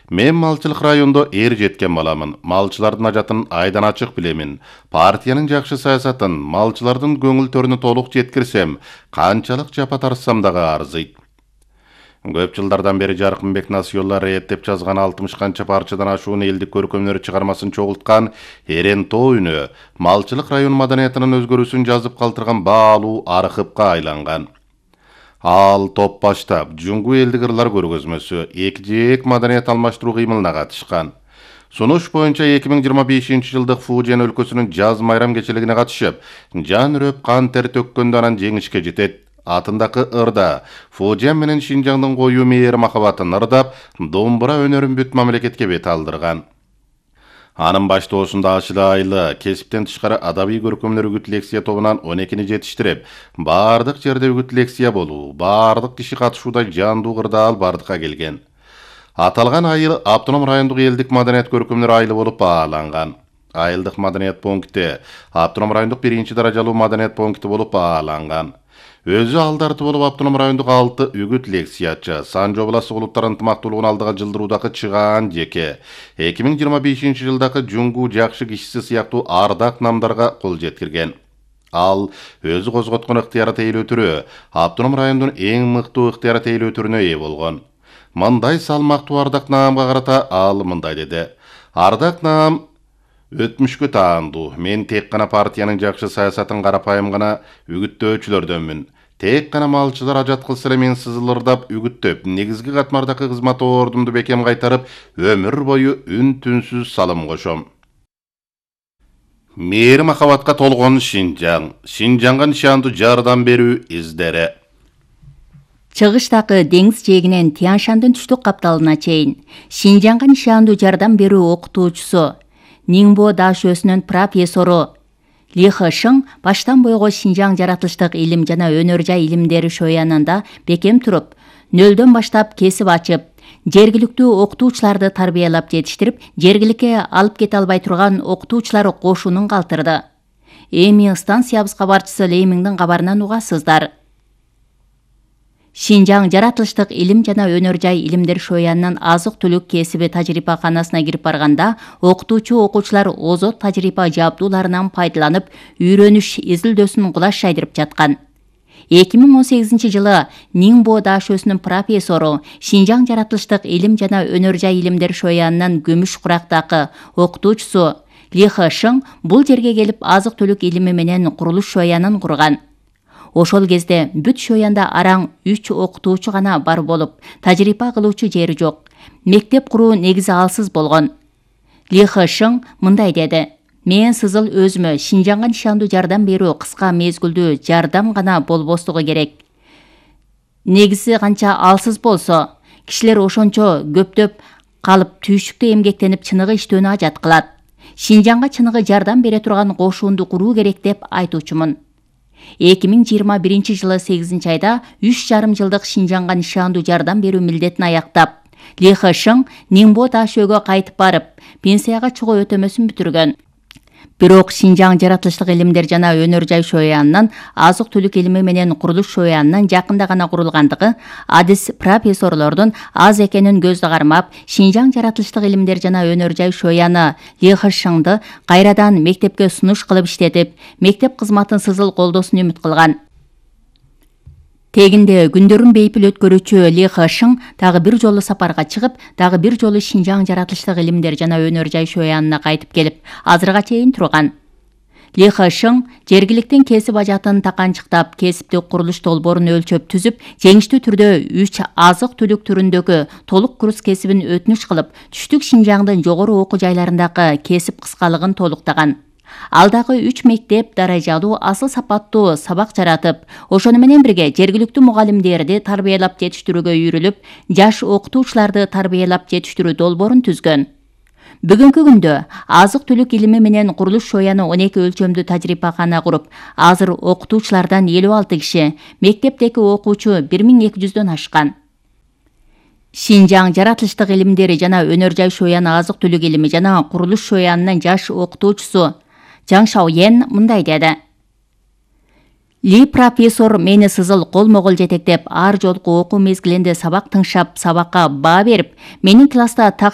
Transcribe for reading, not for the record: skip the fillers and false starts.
Мен малчылык райондо жеткен баламын. Малчылардын ажатын айдан ачык билемин. Партиянын жакшы саясатын, малчылардын көңүл төрүнө толук жеткирсем, канчалык жапа тарсам дагы арзыйт. Көп жылдардан бери Жаркынбек Насыйолла рет деп жазган 60 канча парчадан ашуун элдик көркөмдөр чыгармасын чогулткан Эрен Тоо үнү малчылык район маданиятынын өзгөрүүсүн жазып калтырган баалуу архивга айланган. Ал топ баштап, Жуңгу элдик ырлар көргөзмөсү, эки маданият алмаштыруу кыймылына катышкан. Сунуш боюнча 2025-жылдык Фужен өлкөсүнүн жаз майрам кечелигине катышып, жан үрөп кан тер төккөндө анан жеңишке жетет. Атындагы ырда Фужен менен Шинжаңдын коюу мейир махабатын ырдап, домбура өнөрүн бүт мамлекетке бет алдырган. Анын баштоосунда Ашыла Айлы кесиптен тышкары адабий көркөмдөр үгүт лекция тобунан 12-ни жетиштирип, бардык жерде үгүт лекция болуу, бардык киши катышууда жандуу кырдаал бардыкка келген. Аталган айыл Автоном райондук элдик маданият көркөмдөр айылы болуп бааланган. Айылдык маданият пункти Автоном райондук 1-даражалуу маданият пункти болуп бааланган. Өзү алдарты болуп Автоном райондук 6 үгүт лекциячы, Сан Жобласы улуттар ынтымактуулугун алдыга жылдыруудагы чыгаан жеке, 2025-жылдагы Жуңгу жакшы кишиси сыяктуу ардак намдарга кол жеткирген. Ал өзү козготкон ыктыярат эйлөөтүрү Автоном райондун эң мыктуу ыктыярат эйлөөтүрүнө ээ болгон. Мындай салмактуу ардак наамга карата ал мындай деди: "Ардак наам өтмүшкө таандуу. Мен тек гана партиянын жакшы саясатын карапайым гана үгүттөөчүлөрдөнмүн. Тек гана малчылар ажат кылса эле мен сызылырдап үгүттөп, негизги катмардагы кызмат ордумду бекем кайтарып, өмүр бою үн-түнсүз салым кошом." Мейир махабатка толгон Шинжаң, Шинжаңга нишандуу жардам берүү издери. Чыгыштагы деңиз жээгинен Тянь-Шандын түштүк капталына чейин Шинжаңга нишандуу жардам берүү окутуучусу, Ниңбо дашөсүнүн профессору Ли Хэшиң баштан бойго Шинжаң жаратылыштык илим жана өнөр жай илимдери шоянында бекем туруп, нөлдөн баштап кесип ачып, жергиликтүү окутуучуларды тарбиялап жетиштирип, жергиликке алып кете албай турган окутуучулар кошунун калтырды. Эми станциябыз кабарчысы Леймиңдин кабарынан угасыздар. Шинжаң жаратылыштык илим жана өнөр жай илимдер шоянынын азык-түлүк кесиби тажрыйбаканасына кирип барганда, окутуучу окуучулар озот тажрыйба жабдууларынан пайдаланып, үйрөнүш изилдөөсүн кулаш жайдырып жаткан. 2018-жылы Ниңбо дашөсүнүн профессору, Шинжаң жаратылыштык илим жана өнөр жай илимдер шоянынын күмүш курактагы окутуучусу Ли Хэшиң бул жерге келип азык-түлүк илими менен курулуш шоянын курган. Ошол кезде бүт шоянда араң 3 окутуучу гана бар болуп, тажрыйба кылуучу жери жок. Мектеп куруу негизи алсыз болгон. Ли Хэшиң мындай деди: "Мен сызыл өзүмө Шинжаңга нишандуу жардам берүү кыска мезгилдүү жардам гана болбостугу керек. Негизи канча алсыз болсо, кишилер ошончо көптөп калып түйшүктө эмгектенип чыныгы иштөөнү ажат кылат. Шинжаңга чыныгы жардам бере турган кошуунду куруу керек деп айтуучумун." 2021-жылы 8-айда 3,5 жылдык Шинжаңга нишандуу жардам берүү милдетин аяктап, Ли Хэшиң Ниңбо дашөөгө кайтып барып, пенсияга чыгуу өтөмөсүн бүтүргөн. Бирок Шинжаң жаратылыштык илимдер жана өнөр жай шоянынын азык-түлүк илими менен курулуш шоянынын жакында гана курулгандыгы, адис профессорлордун аз экенин көздө кармап, Шинжаң жаратылыштык илимдер жана өнөр жай шояны Ли Хэшиңди кайрадан мектепке сунуш кылып иштетип, мектеп кызматын сызыл колдоосун үмүт кылган. Тегинде күндөрүн бейпил өткөрүүчү Ли Хэшиң дагы бир жолу сапарга чыгып, дагы бир жолу Шинжаң жаратылыштык илимдер жана өнөр жай шоянына кайтып келип, азырга чейин турган. Ли Хэшиң жергиликтин кесип ажатын таканчыктап, кесиптик курулуш долбоорун өлчөп түзүп, жеңиштүү түрдө 3 азык-түлүк түрүндөгү толук курс кесибин өтүнүч кылып, түштүк Шинжаңдын жогору окуу жайларындагы кесип кыскалыгын толуктаган. Ал дагы 3 мектеп даражалуу асыл сапаттуу сабак жаратып, ошону менен бирге жергиликтүү мугалимдерди тарбиялап жетиштирүүгө үйрүлүп, жаш окутуучуларды тарбиялап жетиштирүү долбоорун түзгөн. Бүгүнкү күндө азык-түлүк илими менен курулуш шояны 12 өлчөмдүү тажрыйбакана куруп, азыр окутуучулардан 56 киши, мектептеги окуучу 1200дөн ашкан. Шинжаң жаратылыштык илимдери жана өнөр жай шояны азык-түлүк илими жана курулуш шоянынын жаш окутуучусу Жаң Шаоен мындай деди: Ли профессор мени сызыл колмо-кол жетектеп, ар жолку окуу мезгилинде сабак тыңшап, сабакка баа берип, менин класста так